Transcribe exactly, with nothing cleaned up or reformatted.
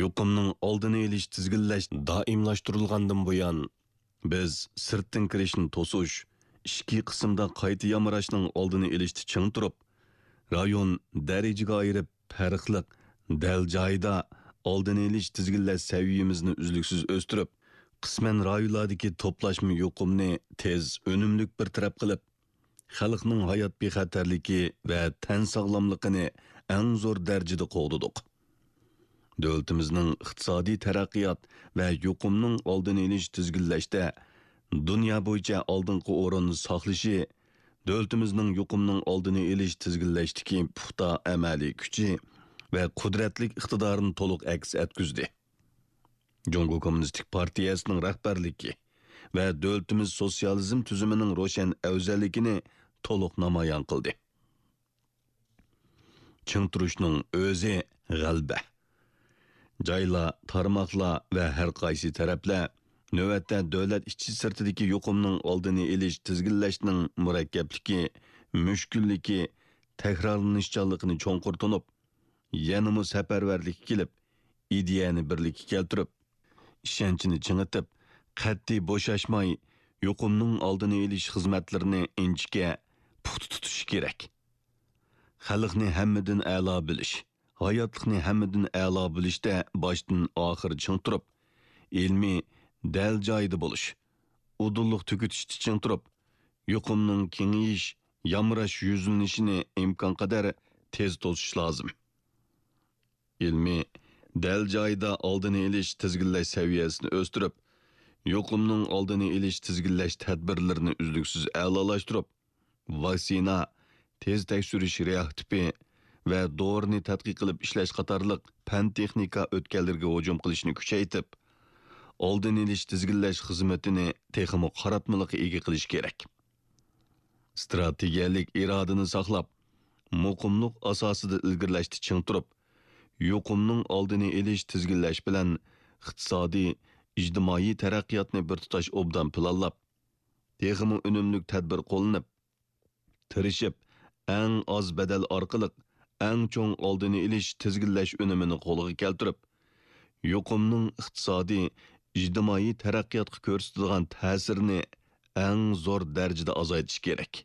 يۇقۇمنىڭ ئالدىنى ئېلىش، تىزگىنلەش دائىملاشتۇرۇلغاندىن بۇيان، بىز سىرتتىن كىرىشنى توسۇش، ئىچكى قىسىمدا قايتا يامراشنىڭ ئالدىنى ئېلىشتا چىڭ تۇرۇپ، رايون دەرىجىگە ئايرىپ، پەرقلىق، دەل جايىدا ئالدىنى ئېلىش، تىزگىنلەش سەۋىيەمىزنى ئۈزلۈكسىز ئۆستۈرۈپ، قىسمەن رايونلاردىكى توپلاشما يۇقۇمنى تېز، ئۈنۈملۈك بىر تەرەپ قىلىپ، خەلقنىڭ ھايات بىخەتەرلىكى ۋە تەن ساغلاملىقىنى ئەڭ زور دەرىجىدە قوغدىدۇق. دۆلىتىمىزنىڭ ئىقتىسادىي تەرەققىيات ۋە يۇقۇمنىڭ ئالدىنى ئېلىش، تىزگىنلەشتە دۇنيا بويىچە ئالدىنقى ئورۇننى ساقلىشى دۆلىتىمىزنىڭ يۇقۇمنىڭ ئالدىنى ئېلىش، تىزگىنلەشتىكى پۇختا ئەمەلىي كۈچى ۋە قۇدرەتلىك ئىقتىدارىنى تولۇق ئەكس ئەتكۈزدى. جۇڭگو كوممۇنىستىك پارتىيەسىنىڭ رەھبەرلىكى ۋە دۆلىتىمىز سوتسىيالىزم تۈزۈمىنىڭ روشەن ئەۋزەللىكىنى تولۇق نامايان قىلدى. چىڭ تۇرۇشنىڭ ئۆزى غەلىبە. جايلار، تارماقلار ۋە ھەر قايسى تەرەپلەر نۆۋەتتە دۆلەت ئىچى سىرتىدىكى يۇقۇمنىڭ ئالدىنى ئېلىش، تىزگىنلەشنىڭ مۇرەككەپلىكى، مۈشكۈللۈكى، تەكرارلىنىشچانلىقىنى چوڭقۇر تونۇپ، يەنىمۇ سەپەرۋەرلىككە كېلىپ، ئىدىيەنى بىرلىككە كەلتۈرۈپ، ئىشەنچنى چىڭىتىپ، قەتئىي بوشاشماي يۇقۇمنىڭ ئالدىنى ئېلىش خىزمەتلىرىنى ئىنچىكە، پۇختا تۇتۇشى كېرەك. خەلقنى ھەممىدىن ئەلا بىلىش، ھاياتلىقنى ھەممىدىن ئەلا بىلىشتە باشتىن ئاخىر چىڭ تۇرۇپ، ئىلمىي دەل جايىدا بولۇش، ئۇدۇللۇق تۈگىتىشتە چىڭ تۇرۇپ، يۇقۇمنىڭ كېڭىيىش، يامراش يۈزلىنىشىنى ئىمكانقەدەر تېز توسۇش لازىم. ئىلمىي، دەل جايىدا ئالدىنى ئېلىش، تىزگىنلەش سەۋىيەسىنى ئۆستۈرۈپ، يۇقۇمنىڭ ئالدىنى ئېلىش، تىزگىنلەش تەدبىرلىرىنى ئۈزلۈكسىز ئەلالاشتۇرۇپ، ۋاكسىنا، تېز تەكشۈرۈش رېئاكتىپى ۋە دورىنى تەتقىق قىلىپ ئىشلەش قاتارلىق پەن-تېخنىكا ئۆتكەللىرىگە ھۇجۇم قىلىشنى كۈچەيتىپ، ئالدىنى ئېلىش، تىزگىنلەش خىزمىتىنى تېخىمۇ قاراتمىلىققا ئىگە قىلىش كېرەك. ئىستراتېگىيەلىك ئىرادىنى ساقلاپ، مۇقىملىق ئاساسىدا ئىلگىرىلەشتە چىڭ تۇرۇپ، يۇقۇمنىڭ ئالدىنى ئېلىش، تىزگىنلەش بىلەن ئىقتىسادىي، ئىجتىمائىي تەرەققىياتنى بىر تۇتاش ئوبدان پىلانلاپ، تېخىمۇ ئۈنۈملۈك تەدبىر قوللىنىپ، تىرىشىپ، ئەڭ ئاز بەدەل ئارقىلىق ئەڭ چوڭ ئالدىنى ئېلىش، تىزگىنلەش ئۈنۈمىنى قولغا كەلتۈرۈپ، يۇقۇمنىڭ ئىقتىسادىي، ئىجتىمائىي تەرەققىياتقا كۆرسىتىدىغان تەسىرىنى ئەڭ زور دەرىجىدە ئازايتىش كېرەك.